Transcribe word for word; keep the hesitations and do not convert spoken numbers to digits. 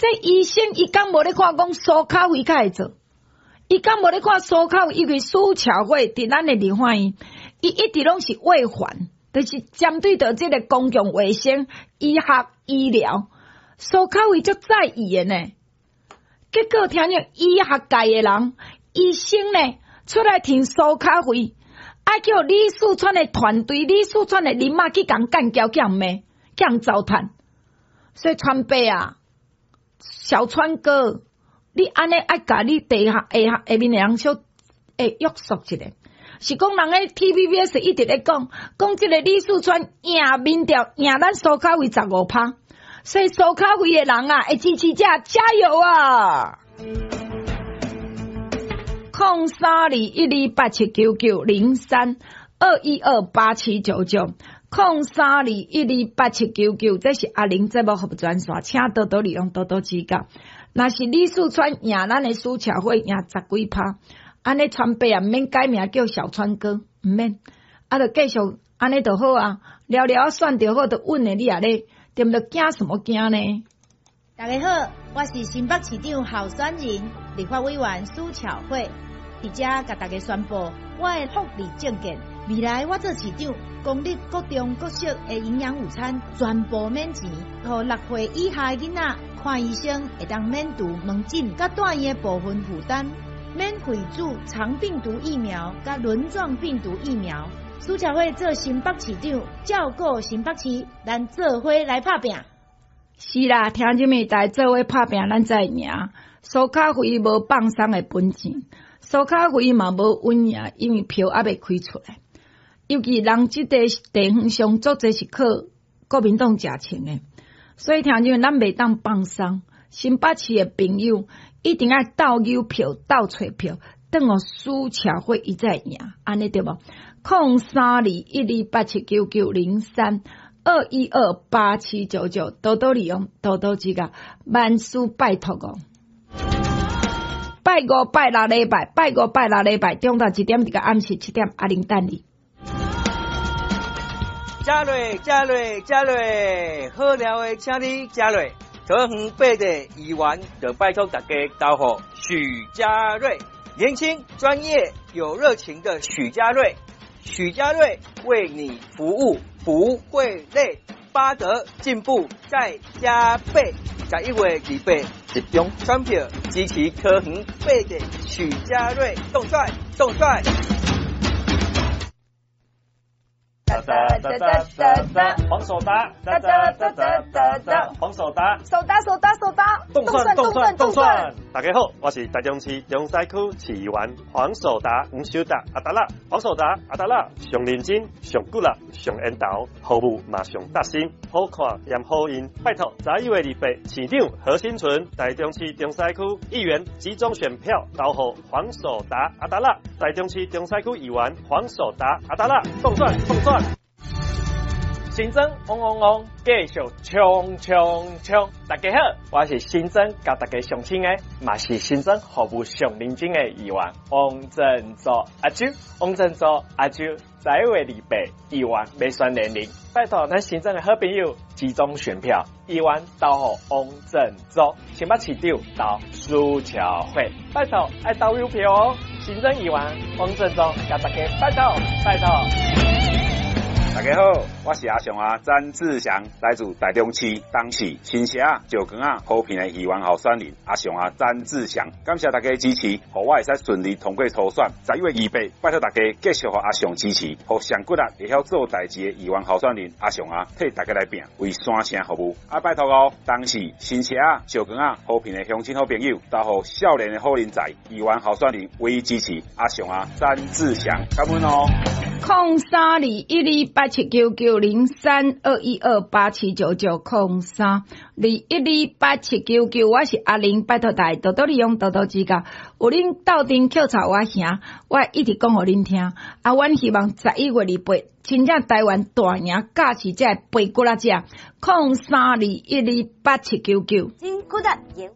這醫生伊敢無咧看講蘇巧慧較會做？伊敢無咧看蘇巧慧？因為蘇巧慧佇咱的立法院，伊一直攏是衛環，就是針對著這個公共衛生、醫學、醫療，蘇巧慧足在意的呢。結果聽見醫學界的人、醫生呢出來挺蘇巧慧，啊叫李四川的團隊、李四川的人馬去共幹譙、去共罵、去共糟蹋。所以川伯啊，小川哥，你按呢愛共你底下下下下面的人小會約束一下。是講人咧 T V B S 一直咧講，講這個李四川贏民調贏咱蘇巧慧十五趴，所以蘇巧慧的人啊，會支持者加油啊！空三二一二八七九九零三二一二八七九九，空三二一二八七九九，這是阿玲節目服務專線，請多多利用，多多指教。若是李四川贏咱的蘇巧慧贏十幾趴，按呢川伯啊，毋免改名叫小川哥，毋免，啊，就繼續按呢就好啊，了了選就好，就穩的你也咧，對毋對？驚什麼驚呢？大家好，我是新北市長候選人、立法委員蘇巧慧，佇遮共大家宣布，我的福利政見，未來我做市長，公立國中國小的營養午餐全部免錢，予六歲以下的囡仔看醫生會當免除門診佮住院的部分負擔，免費注腸病毒疫苗佮輪狀病毒疫苗。蘇巧慧做新北市長，照顧新北市，咱做伙來拍拚。是啦，聽這物大家做伙拍拚，咱才會贏。蘇巧慧無放鬆的本錢，蘇巧慧嘛無穩贏，因為票猶未開出來。尤其人這個地方上足濟是靠國民黨食穿的，所以聽這咱袂當放鬆。新北市的朋友一定愛鬥搝票、鬥揣票，等予蘇巧慧伊才會贏，按呢對無？空三二一二八七九九零三二一二八七九九，多多利用，多多指教，萬事拜託哦。拜五、拜六禮拜，拜五、拜六禮拜，中晝一點至暗時七點，阿玲等你。食落，食落，食落，好料的，請你食落。桃園八地議員就拜託大家投予許家瑞，年輕、專業、有熱情的許家瑞，許家瑞為你服務，不會累，八德進步再加倍。十一月二八集中選票支持桃園八地許家瑞，動帥動帥。噠噠噠噠噠，黃守達，噠噠噠噠噠噠，黃守達，守達守達守達，動算動算動算。大家好，我是台中市中西區市議員黃守達，黃守達阿達啦，黃守達阿達啦，上認真、上骨力、上緣投，服務嘛上貼心，好看也好用。拜託，十一月二八，市長何新存，台中市中西區議員集中選票投予黃守達阿達啦，台中市中西區議員黃守達阿達啦，動算動算。新莊嗡嗡嗡，繼續衝衝衝！大家好，我是新莊佮大家相親的，嘛是新莊服務上認真的議員王振祖阿周，王振祖阿周，十一月二八，議員欲選連任，拜託咱新莊的好朋友集中選票，議員投予王振祖，新北市長投蘇巧慧，拜託愛投郵票哦！新莊議員王振祖，佮大家拜託拜託。大家好，我是阿雄啊，詹志祥，來自台中市東勢新社石岡仔和平的議員候選人阿雄啊，詹志祥，感謝大家支持，予我會使順利通過初選。十一月二八，拜託大家繼續予阿雄支持，予上骨力會曉做代誌的議員候選人阿雄啊，替大家來拼，為山城服務。啊，拜託哦，東勢新社石岡仔和平的鄉親好朋友，投予少年的好人才議員候選人唯一支持阿雄啊，詹志祥，感恩哦。空三二一二八七九九零三二一二八七九九空三二一二八七九九，我是阿玲，拜託大家多多利用，多多指教。有恁鬥陣抾吵我兄，我一直講予恁聽。啊，阮希望十一月二八，真正台灣大贏，駕駛這白骨仔者，空三二一二八七九九。真骨力。